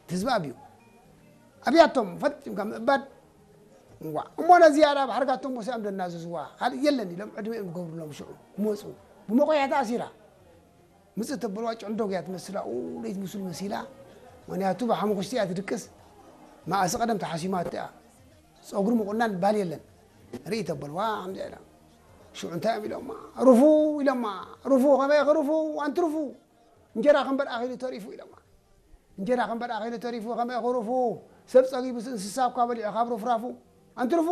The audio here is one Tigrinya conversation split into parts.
ትዝባብ እዩ። ኣብያቶም ፈጺምካ ምእባድ። እዋ እሞ ነዚ ያዳ ባሕርጋቶም ወሲኦም ደናዘዝዋ ካልእ የለን ኢሎም ዕድሜኦም ዝገብሩሎም ሽዑ ክመፁ ብመቆያ ተኣሲራ። ምጽእ ተበልዋ ጭዕንዶግ እያ ትመስል ኣብኡ ለይትምስል መሲላ። ምኽንያቱ ብሓሙኽሽቲ እያ ትድቅስ። መኣሲ ቀደም ተሓሲማቶ እያ። ጸጉሪ ምቑናን ባል የለን። ርኢ ተበልዋ ከምዚኣ ኢላ። ሽዑ እንታይ እዮም ኢሎማ? ሩፉ ኢሎማ። ሩፉ ከመይ ክሩፉ ኣንቲ ሩፉ? እንጀራ ክንበር ኣኺሉ ተሪፉ ኢሎማ። እንጀራ ክንበር ኣኺሉ ተሪፉ ከመይ ክሩፉ? ሰብ ጸጊቡስ እንስሳ እኳ በሊዑ ካብ ሩፍራፉ ኣንቲ ሩፉ።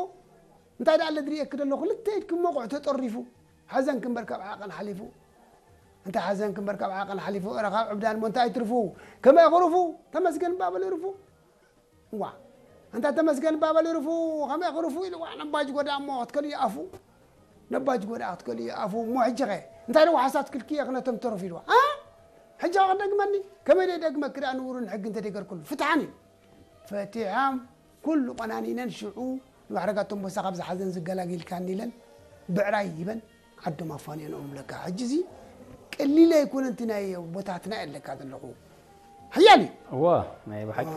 እንታይ ደኣ ለድርእየኪ ደሎ ክልተ ኢድኪ መቑዕ ተጠሪፉ። ሓዘንኪ እምበር ካብ ዓቐን ሓሊፉ። እንተ ሓዘንኪ እምበር ካብ ዓቐን ሓሊፉ እረ ካብ ዕብዳን እሞ እንታይ ትርፉ? ከመይ ክሩፉ? ተመስገን እባ በሊ ሩፉ። እዋ እንታ ተመስገን እባ በሊ ሩፉ። ከመይ ክሩፉ ኢልዋ ነባጅ ጎዳ እሞ ክትከልዮ ኣፉ። ነባጅ ጎዳ ክትከልዮ ኣፉ እሞ ሕጂ ኸ እንታይ ደው ሓሳት ክልክየ ክነቶም ተረፉ ኢልዋ። ኣ ሕጂ ኸ ክደግመኒ ከመይ ደይ ደግመኪ ደኣ ንውሩን ሕጊ እንተ ደይገርኩሉ ፍትሓን እዩ። ፈቲሖም ኩሉ ቆናኒነን ሽዑ ንባሕርጋቶም ቦሳ ካብ ዝሓዘን ዝገላጊልካኒ ኢለን ብዕራይ ሂበን ዓዶም ኣፋንየንኦም ለካ። ሕጂ እዚ ቀሊል ኣይኮነን እቲ ናይ ኣቦታትና ኣለካ ዘለኹ ሓያል እዩ። እዋ ናይ ብሓቂ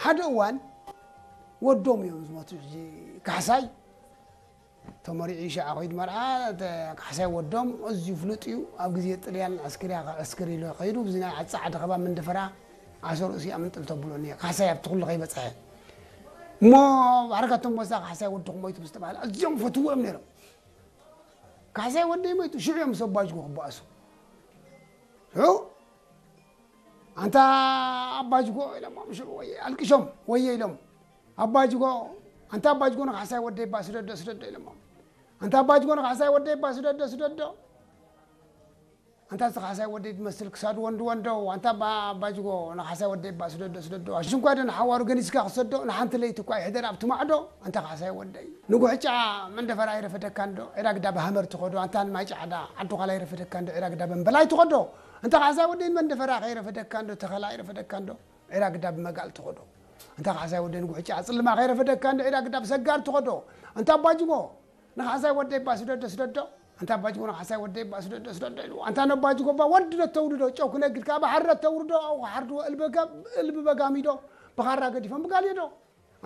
ሓደ እዋን ወዶም እዮም ዝሞቱ። ሕጂ ካሕሳይ ተመሪዑ ሻዓ ኮይዱ መርዓ ካሕሳይ ወዶም ኣዝዩ ፍሉጥ እዩ። ኣብ ግዜ ጥልያን ዕስክር እያ ክዕስክር ኢሉ ከይዱ ብዚ ናይ ጻዕዳ ከባቢ መንደፈራ ዓሶ ርእሱ እያ ምንጥል ተብሎ እኒአ ካሕሳይ ኣብቲ ኩሉ ከይበጽሐ እሞ ባሕርጋቶም ቦሳ ካሕሳይ ወድኹም ሞይቱ ምስ ተባህለ ኣዝዮም ፈትዎ እዮም ነይሮም። ካሕሳይ ወደይ ሞይቱ ሽዑ እዮም ሰብ ባጅጎ ክበኣሱ። ሽዑ ኣንታ ኣባጅጎ ኢሎሞም ሽዑ ወየ ኣልቅሾም ወየ ኢሎም ኣባጅጎ ኣንታ ኣባጅጎ ንካሕሳይ ወደይ እባ ስደዶ ስደዶ ኢሎሞም ኣንታ ኣባጅጎ ንካሕሳይ ወደይ እባ ስደዶ ስደዶ ኣንታ እዚ ካሕሳይ ወደይ ትመስል ክሳዱ ወንዲ ወንዶ ኣንታ ኣባ ኣባጅጎ ንካሕሳይ ወደይ እባ ስደዶ ስደዶ ኣሽንኳ ዶ ንሓዋሩ ገኒዝካ ክሰዶ ንሓንቲ ለይቲ እኳ ይሕደር ኣብቲ ማዕዶ ኣንታ ካሕሳይ ወደይ ንጉሕጫ መንደፈራ ይረፈደካ እንዶ ዒራግዳ ብሃመር ትኸዶ ኣንታ ንማይ ጫዕዳ ዓዲ ዃላ ይረፈደካ እንዶ ዒራግዳ በንበላይ ትኸዶ ኣንታ ካሕሳይ ወደይ ንመንደፈራ ከይረፈደካ እንዶ ተኸላ ይረፈደካ እንዶ ዒራግዳ ብመጋል ትኸዶ ኣንታ ካሕሳይ ወደይ ንጉሕጫ ጽልማ ከይረፈደካ እንዶ ዒራግዳ ብሰጋር ትኸዶ ኣንታ ኣባጅጎ ንኻሕሳይ ወደይ እባ ስደዶ ስደዶ ኣንታ ኣባጅጎ ንኻሕሳይ ወደይ እባ ስደዶ ስደዶ ኢሉ ኣንታ ነባጅጎ እባ ወዲ ዶ ተውልዶ ጨው ክነግድ ካብ ባሕሪ ዶ ተውርዶ ኣው ክሓርድዎ እልቢ በጋሚዶ ብኻራ ገዲፎም ብጋልዮ ዶ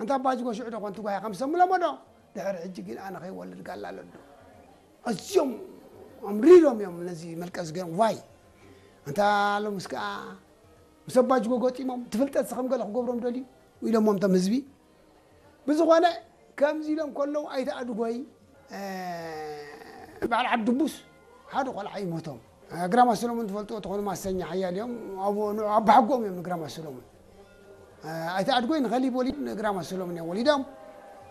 ኣንታ ኣባጅጎ ሽዑ ዶ ኮንቲ ጓሂ ከም ሰሙለሞ ዶ ድሕሪ ሕጂ ግን ኣነ ከይወልድ ጋላ ኣለዶ ኣዝዮም ኣምሪሮም እዮም ነዚ መልቀስ ገይሮም ዋይ ኣንታ ሎምስ ከዓ ምስ ኣባጅጎ ገጢሞም ትፍልጠት ከም ገለ ክገብሮም ደልዩ ኢሎሞም ቶም ህዝቢ ብዝኾነ ከምዚ ኢሎም ከለዉ ኣይተ ኣድጎይ በዓል ዓዲ ድቡስ ሓደ ቆልዓ ይሞቶም። ግራማ ሰሎሞን ትፈልጥዎ ተኾኑ ማሰኛ ሓያል እዮም። ኣቦ ንዑ ኣባሓጎኦም እዮም ንግራማ ሰሎሞን። ኣይተ ኣድጎይ ንኸሊብ ወሊድ ንግራማ ሰሎሞን እዮም ወሊዶም።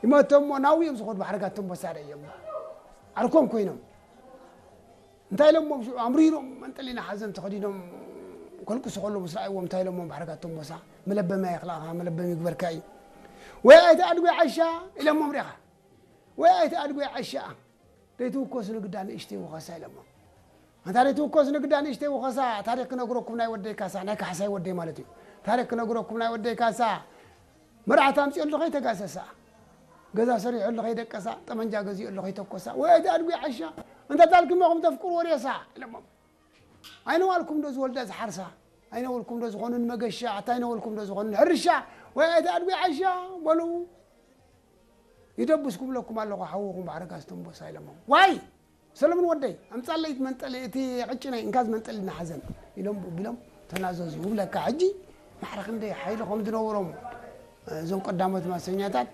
ይመቶም ናብኡ እዮም ዝኸዱ ባሕርጋቶም በሳደ እዮም ዓርኮም ኮይኖም። እንታይ ኢሎሞም ሽዑ ኣምሪሮም መንጠሊና ሓዘን ተኸዲኖም ከልቅሱ ከለዉ ምስ ረኣይዎም እንታይ ኢሎሞም ባሕርጋቶም ቦሳ መለበሚ ኣይኽላእኻ መለበሚ ይግበርካ እዩ ወይ ኣይተ ኣድጎ ዓሻ ኢሎሞም ሪኻ ወይ ኣይተ ኣድጎ ዓሻ ደይትውከሱ ንግዳ ንእሽተይ ውኸሳ ኢሎሞም ኣንታ ደይትውከሱ ንግዳ ንእሽተይ ውኸሳ ታሪክ ክነግረኩም ናይ ወደይ ካሳ ናይ ካሕሳይ ወደይ ማለት እዩ ታሪክ ክነግረኩም ናይ ወደይ ካሳ መርዓት ኣምጺኦሉ ከይተጋሰሳ ገዛ ሰሪሖሉ ከይደቀሳ ጠመንጃ ገዚኦሉ ከይተኮሳ ወይ ኣቲ ኣድጉ ዓሻ እንተ ታልክሞ ከም ተፍቅርዎ ሬሳ ኢሎሞም ኣይነዋልኩም ዶ ዝወልዳ ዝሓርሳ ኣይነወልኩም ዶ ዝኾኑ ንመገሻ ኣታ ኣይነወልኩም ዶ ዝኾኑ ንሕርሻ ወይ ኣቲ ኣድጉ ዓሻ በሉ ይደብስኩም ለኩም ኣለኹ ሓውኹም ባሕሪ ጋዝቶም ቦሳ ኢሎሞም ዋይ ሰለሙን ወደይ ኣምጻለይ እቲ መንጠሊ እቲ ቅጭነይ እንካ ዝመንጠሊ ናሓዘን ኢሎም ቢሎም ተናዘዙ ይብለካ ሕጂ ማዕረ ክንደይ ሓይሊ ከም ዝነበሮም እዞም ቀዳሞት ማሰኛታት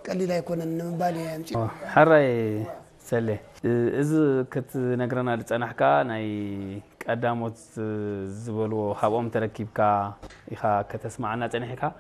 ቀሊል ኣይኮነን ንምባል እየ ኣምጺ ሕራይ ሰሌ እዚ ክትነግረና ዝጸናሕካ ናይ ቀዳሞት ዝበልዎ ካብኦም ተረኪብካ ኢኻ ከተስማዓና ጸኒሕካ